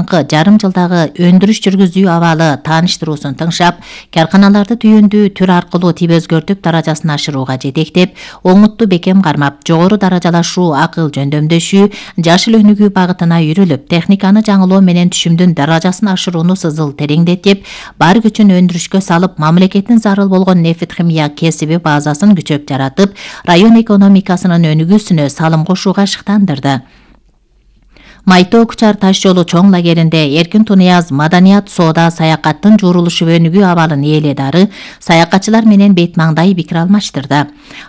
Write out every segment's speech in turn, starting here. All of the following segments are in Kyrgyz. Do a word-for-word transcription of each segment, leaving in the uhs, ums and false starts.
алдыңкы жарым жылдагы өндүрүш жүргүзүү абалы тааныштыруусун тыңшап, карканаларды түйүндүү түр аркылуу тип өзгөртүп даражасын ашырууга жетектеп, оңутту бекем кармап, жогору даражалашуу, акыл жөндөмдөшүү, жашыл өнүгүү багытына үйрүлүп, техниканы жаңылоо менен түшүмдүн даражасын ашырууну сызыл тереңдетип, бар күчүн өндүрүшкө салып, мамлекеттин зарыл болгон нефт химия кесиби базасын күчөп жаратып, район экономикасынын өнүгүүсүнө салым кошууга шыктандырды. Майтоо Кучар таш жолу чоң лагеринде Эркин Тунияз маданият, соода, саякаттын жуурулушу өнүгүү абалын ээледары саякатчылар менен бет маңдай пикир алмаштырды.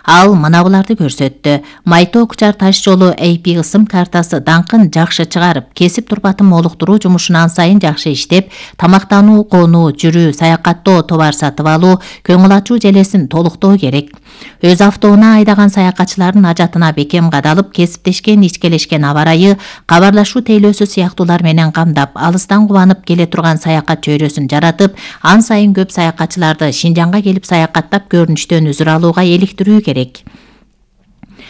Ал мына буларды көрсөттү. Майтоо Кучар таш жолу эй пи ысым картасы даңкын жакшы чыгарып, кесип турпатын молуктуруу жумушун ан сайын жакшы иштеп, тамактануу, конуу, жүрүү, саякаттоо, товар сатып алуу, көңүл ачуу желесин толуктоо керек. Өз автоуна айдаган саякатчылардын ажатына бекем кадалып, кесиптешкен, ичкелешкен аба ырайы, кабарлашуу тейлөөсү сыяктуулар менен камдап, алыстан кубанып келе турган саякат чөйрөсүн жаратып, ан сайын көп саякатчыларды Шинжаңга келип саякаттап көрүнүштөн үзүр алууга эликтирүү керек.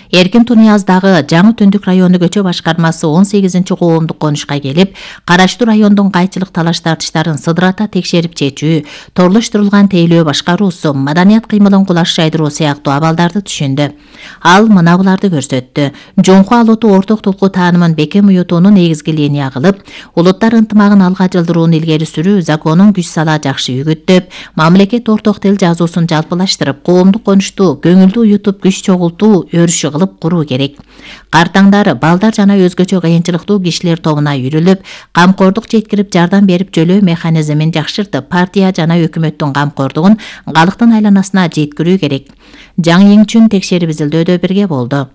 Эркин Тунияздагы Жаңы Түндүк району көчө башкармасы он сегизинчи коомдук конушка келип, караштуу райондун кайчылык талаш тартыштарын сыдырата текшерип чечүү, торлоштурулган тейлөө башкаруусу, маданият кыймылын кулаш жайдыруу сыяктуу абалдарды түшүндү. Ал мына буларды көрсөттү. Жоңку алоту орток тулку таанымын бекем уютууну негизги линия кылып, улуттар ынтымагын алга жылдырууну илгери сүрүү, законун күч сала жакшы үгүттөп, мамлекет орток тил жазуусун жалпылаштырып, коомдук конушту көңүлдүү уютуп, күч чогултуу өрүшү кылып куруу керек. Картаңдар, балдар жана өзгөчө кыйынчылыктуу кишилер тобуна үйрүлүп, камкордук жеткирип жардам берип жөлөө механизмин жакшыртып, партия жана өкмөттүн камкордугун калктын айланасына жеткирүү керек. Жаңы Еңчүн текшерип изилдөөдө бирге болду.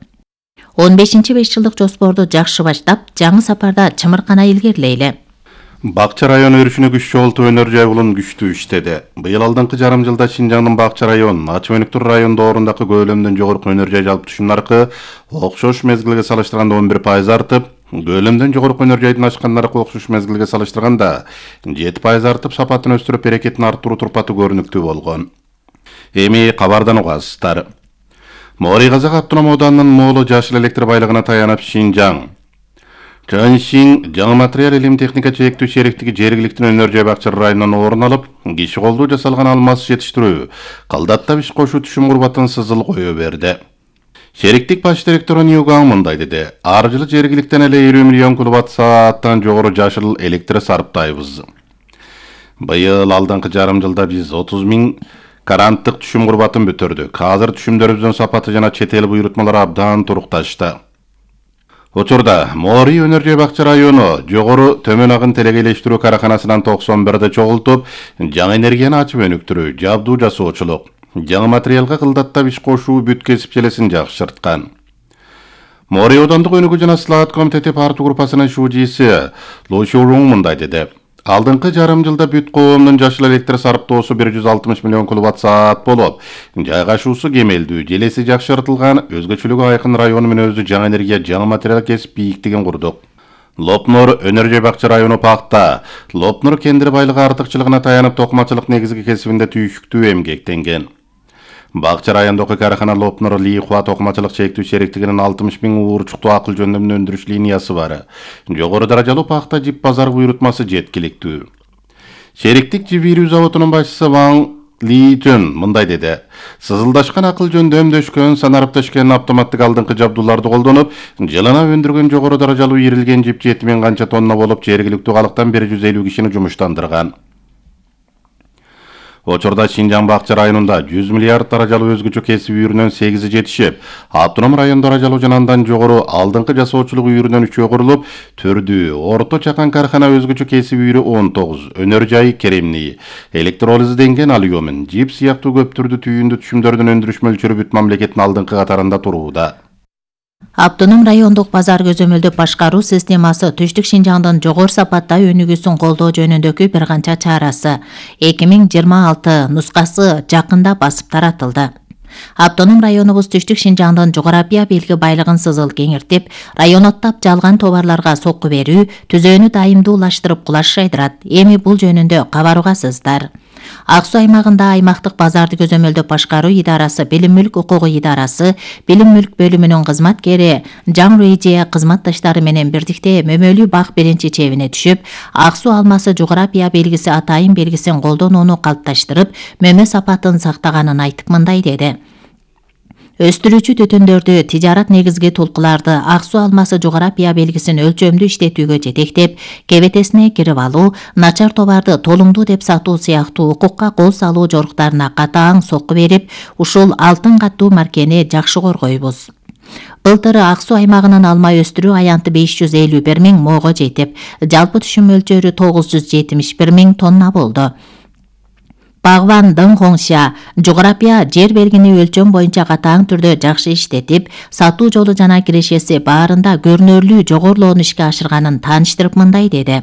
он бешинчи беш жылдык жоспорду жакшы баштап, жаңы сапарда чымыркана илгерилейли. Бакча району өрүшүнө күч чогултуу өнөр жайылын күчтүү иштеди. Быйыл алдыңкы жарым жылда Шинжаңдын Бакча районунун Ачы Өнүктүр райондорундагы көлөмдөн жогорку өнөр жай жалпы түшүм наркы окшош мезгилге салыштырганда он бир пайыз артып, көлөмдөн жогорку өнөр жайдын ачкан наркы окшош мезгилге салыштырганда жети пайыз артып, сапатын өстүрүп, берекетин арттыруу турпаты көрүнүктүү болгон. Эми кабардан угасыздар. Моорий Казак автоном ооданынын Моолу жашыл электр байлыгына таянып Шинжаң Чөншин жаңы материал илим техника чектүү шериктиги жергиликтүү өнөр жай бакчалар районунан орун алып, киши колдуу жасалган алмаз жетиштирүү, калдаттап иш кошуу түшүм курбатын сызыл кое берди. Шериктик баш директору Ньюгаң мындай деди: ар жылы жергиликтен эле элүү миллион киловатт сааттан жогору жашыл электр сарптайбыз. Быйыл алдыңкы жарым жылда биз отуз миң каранттык түшүм курбатын бүтүрдүк. Азыр түшүмдөрүбүздүн сапаты жана чет эл буйрутмалары абдан турукташты. Учурда Моорий өнөр жай бакча району жогору төмөн агын телегейлештирүү караканасынан токсон бирди чогултуп, жаңы энергияны ачып өнүктүрүү, жабдуу жасоочулук, жаңы материалга кылдаттап иш кошуу бүт кесип желесин жакшырткан. Моорий оодандык өнүгүү жана ислаат комитети партия группасынын шужиси Лу Шурун мындай деди: алдыңкы жарым жылда бүт коомдун жашыл электр сарптоосу бир жүз алтымыш миллион киловатт саат болуп, жайгашуусу кемелдүү, желеси жакшыртылган, өзгөчөлүгү айкын району менен өзү жаңы энергия, жаңы материал кесип бийиктигин курдук. Лопнур өнөр жай бакча району пакта, Лопнур кендир байлыгы артыкчылыгына таянып, токмачылык негизги кесибинде түйүктүү эмгектенген. Бакча райондогу карахана Лопнур Лихуа токмачылык чектүү шериктигинин алтымыш миң уурчуктуу акыл жөндөмдүү өндүрүш линиясы бар. Жогору даражалуу пакта жип базар буйрутмасы жеткиликтүү. Шериктик жип ийрүү заводунун башчысы Ван Ли Жөн мындай деди: сызылдашкан акыл жөндөмдөшкөн, санарып төшкөн автоматтык алдыңкы жабдууларды колдонуп, жылына өндүргөн жогору даражалуу ийрилген жип жети миң канча тонна болуп, жергиликтүү калктан бир жүз элүү кишини жумуштандырган. Учурда Шинжаң Бакча районунда жүз миллиард даражалуу өзгөчө кесип үйрүнөн сегизи жетишип, автоном район даражалуу жана андан жогору алдыңкы жасоочулук үйрүнөн үчөө курулуп, түрдүү, орто чакан кархана өзгөчө кесип үйрү он тогуз, өнөр жай керемний, электролизденген алюмин, жип сыяктуу көп түрдүү түйүндү түшүмдөрдүн өндүрүш мөлчөрү бүт мамлекеттин алдыңкы катарында турууда. Автоном райондук базар көзөмөлдөп башкаруу системасы Түштүк Шинжаңдын жогору сапатта өнүгүүсүн колдоо жөнүндөгү бир канча чарасы эки миң жыйырма алты нускасы жакында басып таратылды. Автоном районубуз Түштүк Шинжаңдын жогорапия белги байлыгын сызыл кеңиртип, районоттап жалган товарларга сокку берүү, түзөөнү дайымдуулаштырып кулаш жайдырат. Эми бул жөнүндө кабар угасыздар. Ак Суу аймагында аймактык базарды көзөмөлдөп башкаруу идарасы, билим мүлк укугу идарасы, билим мүлк бөлүмүнүн кызматкери Жан Рейже кызматташтары менен бирдикте мөмөлүү бак биринчи чебине түшүп, ак суу алмасы жогорапия белгиси атайын белгисин колдонууну калыпташтырып, мөмө сапатын сактаганын айтып мындай деди. Өстүрүүчү түтүндөрдү, тижарат негизги толкуларды, ак суу алмасы жогорапия белгисин өлчөмдүү иштетүүгө жетектеп, кебетесине кирип алуу, начар товарды толуңдуу деп сатуу сыяктуу укукка кол салуу жоруктарына катаң сокку берип, ушул алтын каттуу маркени жакшы коргойбуз. Былтыр ак суу аймагынын алма өстүрүү аянты беш жүз элүү бир миң моого жетип, жалпы түшүм мөлчөрү тогуз жүз жетимиш бир миң тонна болду. Багван Дың Хоңша жогорапия жер белгини өлчөм боюнча катаң түрдө жакшы иштетип, сатуу жолу жана кирешеси баарында көрүнөрлүү жогорулоону ишке ашырганын тааныштырып мындай деди.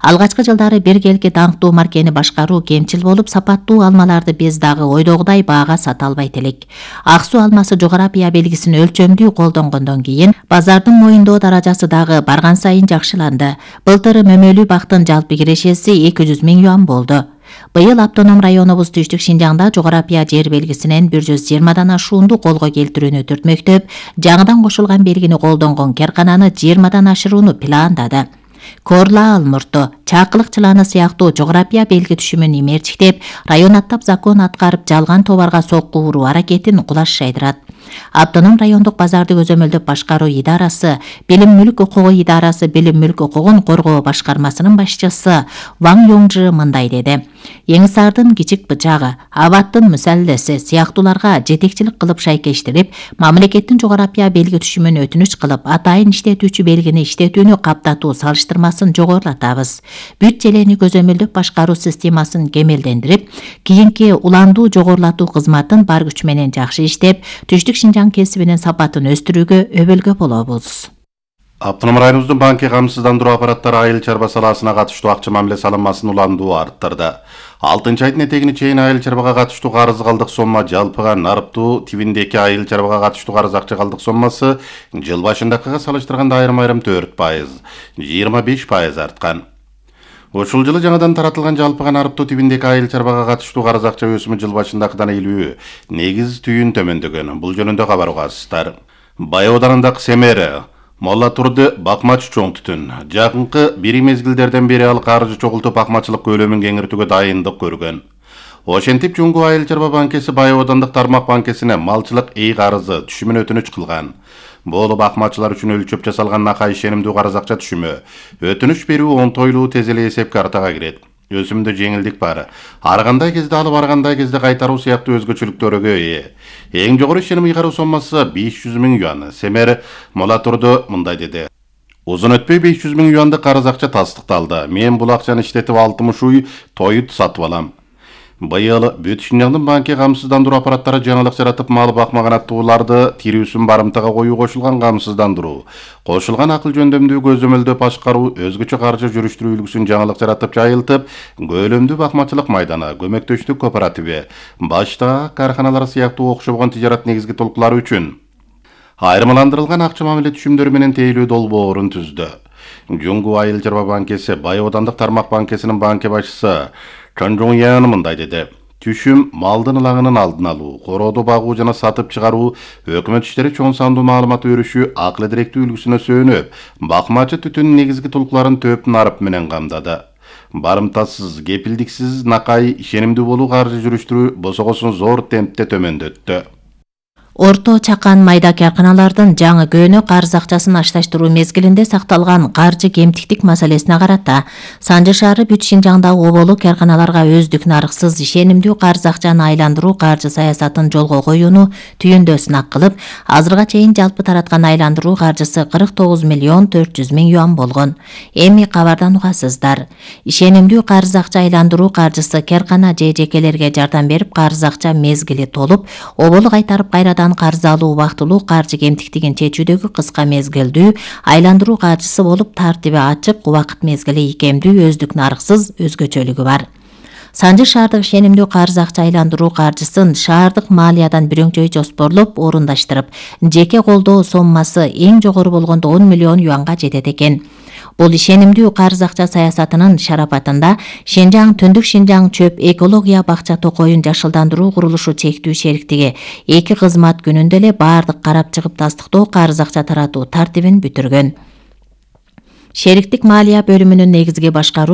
Алгачкы жылдары биргелки даңктуу маркени башкаруу кемчил болуп, сапаттуу алмаларды биз дагы ойдогудай баага сата албайт элек. Ак суу алмасы жогорапия белгисин өлчөмдүү колдонгондон кийин, базардын моюндоо даражасы дагы барган сайын жакшыланды. Былтыр мөмөлүү бактын жалпы кирешеси эки жүз миң юан болду. Быйыл автоном районубуз Түштүк Шинжаңда жогорапия жер белгисинен бир жүз жыйырмадан ашуунду колго келтирүүнү түртмөктөп, жаңыдан кошулган белгини колдонгон каркананы жыйырмадан ашырууну пландады. Корла Алмурту, Чакылык чыланы сыяктуу жогорапия белги түшүмүн имерчиктеп, район аттап закон аткарып, жалган товарга сокку уруу аракетин кулаш жайдырат. Автоном райондук базарды көзөмөлдөп башкаруу идарасы, билим мүлк укугу идарасы, билим мүлк укугун коргоо башкармасынын башчысы Ваң Йоңжы мындай деди. Эңсардын кичик бычагы, Абаттын мусаллеси сыяктууларга жетекчилик кылып шайкештирип, мамлекеттин жогорапия белги түшүмүн өтүнүч кылып, атайын иштетүүчү белгини иштетүүнү каптатуу салыштырмасын жогорулатабыз. Бүт желени көзөмөлдөп башкаруу системасын кемелдендирип, кийинки уландуу жогорулатуу кызматын бар күч менен жакшы иштеп, Түштүк Шинжаң кесибинин сапатын өстүрүүгө өбөлгө болобуз. Автоном районубуздун банки камсыздандыруу аппараттары айыл чарба саласына катыштуу акча мамиле салынмасын уландуу арттырды. алтынчы айдын этегине чейин айыл чарбага катыштуу карыз калдык сомма жалпыга нарыптуу тибиндеки айыл чарбага катыштуу карыз акча калдык соммасы жыл башындакыга салыштырганда айрым-айрым төрт пайыз, жыйырма беш пайыз арткан. Ушул жылы жаңадан таратылган жалпыга нарыптуу тибиндеки айыл чарбага катыштуу карыз акча өсүмү жыл башындакыдан элүү негиз түйүн төмөндөгөн. Бул жөнүндө кабар угасыздар. Бай Ауданындагы Семер, Молла Турды бакмачы чоң түтүн. Жакынкы бир мезгилдерден бери ал каржы чогултуп бакмачылык көлөмүн кеңиртүүгө дайындык көргөн. Ошентип Жуңгу айыл чарба банкеси Бай Аудандык тармак банкесине малчылык эй карызы түшүмүн өтүнүч кылган. Бул бакмачылар үчүн өлчөп жасалган накай ишенимдүү карыз акча түшүмү. Өтүнүч берүү онтойлуу тез эле эсеп картага кирет. Өсүмдө жеңилдик бар. Ар кандай кезде алып, ар кандай кезде кайтаруу сыяктуу өзгөчөлүктөргө ээ. Эң жогору ишеним ыйгаруу соммасы беш жүз миң юан. Семер Мола Турду мындай деди. Узун өтпөй беш жүз миң юандык карыз акча тастыкталды. Мен бул акчаны иштетип алтымыш уй тоют сатып алам. Быйыл Бүт Шинжаңдын банки камсыздандыруу аппараттары жаңылык жаратып, мал бакмаган аттууларды тирүүсүн барымтага коюу кошулган камсыздандыруу, кошулган акыл жөндөмдүү көзөмөлдөп башкаруу, өзгөчө каржы жүрүштүрүү үлгүсүн жаңылык жаратып жайылтып, көлөмдүү бакмачылык майданы, көмөктөштүк кооперативи, башта карканалар сыяктуу окшобогон тижарат негизги толкулары үчүн айырмаландырылган акча мамиле түшүмдөрү менен тейлөө долбоорун түздү. Жуңгу айыл чарба банкеси Бай Аудандык тармак банкесинин банки башчысы Чонжоң Яны мындай деди. Түшүм малдын ылаңынын алдын алуу, корооду багуу жана сатып чыгаруу, өкмөт иштери чоң сандуу маалымат өрүшү акыл директүү үлгүсүнө сөөнүп, бакмачы түтүнүн негизги толкуларын төп нарып менен камдады. Барымтасыз, кепилдиксиз накай ишенимдүү болуу каржы жүрүштүрүү босогосун зор темпте төмөндөттү. Орто чакан майда карканалардын жаңы көөнө карыз акчасын ашташтыруу мезгилинде сакталган каржы кемтиктик маселесине карата Санжы шаары Бүт Шинжаңда оболу карканаларга өздүк нарыксыз ишенимдүү карыз акчаны айландыруу каржы саясатын жолго коюуну түйүндө сынак кылып, азырга чейин жалпы тараткан айландыруу каржысы кырк тогуз миллион төрт жүз миң юан болгон. Эми кабардан угасыздар. Ишенимдүү карыз акча айландыруу каржысы каркана же жекелерге жардам берип, карыз акча мезгили толуп, оболу кайтарып кайрадан карыз алуу убактылуу каржы кемтиктигин чечүүдөгү кыска мезгилдүү айландыруу каржысы болуп, тартиби ачык, убакыт мезгили ийкемдүү, өздүк нарыксыз өзгөчөлүгү бар. Санжы шаардык ишенимдүү карыз акча айландыруу каржысын шаардык маалиядан бирөңчөй жоспорлоп орундаштырып, жеке колдоо соммасы эң жогору болгондо он миллион юанга жетет экен. Бул ишенимдүү карыз акча саясатынын шарапатында Шенжаң Түндүк Шинжаң чөп экология бакча токоюн жашылдандыруу курулушу чектүү шериктиги эки кызмат күнүндө эле баардык карап чыгып тастыктоо карыз акча таратуу тартибин бүтүргөн. Шериктик малия бөлүмүнүн негизги башкаруучу